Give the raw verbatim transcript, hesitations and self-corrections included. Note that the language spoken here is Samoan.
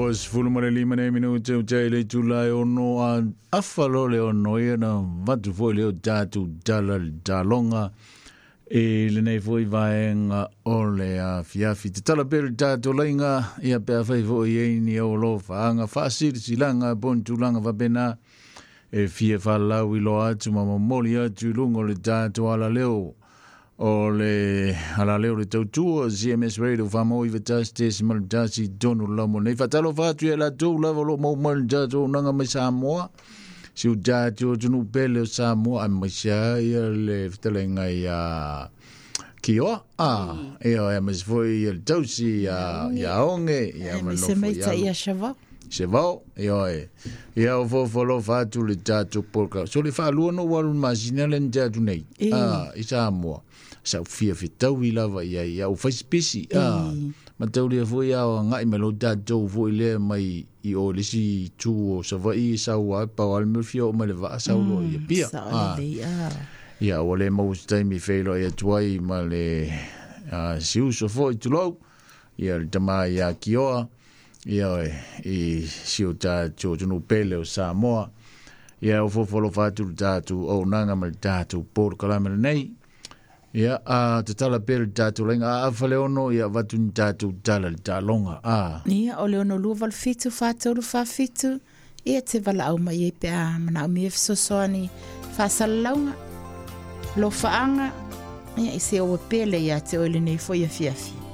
Ua sefulu ma le lima nei minute o tai le itula e ono a afa loa le ono ia na avatu foi lea o tatou tala i le taloga i lenei foi vaega o le afiafi. Tatala pea le tatou laiga ia pe afai foi i ai ni ou alofaaga faasilasilaga po o ni tulaga faapena e fia faalaau iloa atu ma momoli atu i luga o le tatou alaleo o le alaleo o le tautua C M S Radio faamoa tasi tesimal tasi i totonu o le laumua nei. Faatalofa atu ia latou lava o loo maua mai le tatou auaunaga mai Samoa, si o tatou atunuu pele o Samoa, aemaise ai ia le fetalaiga ia Kioa, a ia aemaise foi ia le tausi ia ia Oge, ia ma le Aemaise nofo mai i tai alo. ia Shavao. Sevao, ia ia o fofo alofa atu le tatou polokalae. So le faalua ona ou alu i le masina lea na tea atu nei, E. a, i Samoa. Sa ou fia fetaui lava i ai, ia ou fai sipisi, a, E. ma taulia foi a o agai mai lo tatou foi lea mai i o le isi itu o Savaii e sau ai, pau lava le mea o le fia oo mai le vaa sau loa i Apia. Sao A. lelei, a. Ia, ua le maua se taimi feiloai atu ai ma le a, si uso foi tulou, ia le tama ia Kioa, ia i si o tatou atunuu pele o Samoa. Ia o fofo alofa atu le tatou auaunaga ma le tatou polokalame lenei. Ia, a tatala pea le tatou laiga a afa le ono, ia avatu ni tatou tala i le taloga. A. Ia, o le ono lua valu fitu, fa tolu, fa fitu, ia te valaau mai ai pe a manaomia fesoasoani faasalalauga, lofaaga, ia i se oa pele ia te oe lenei foi afiafi.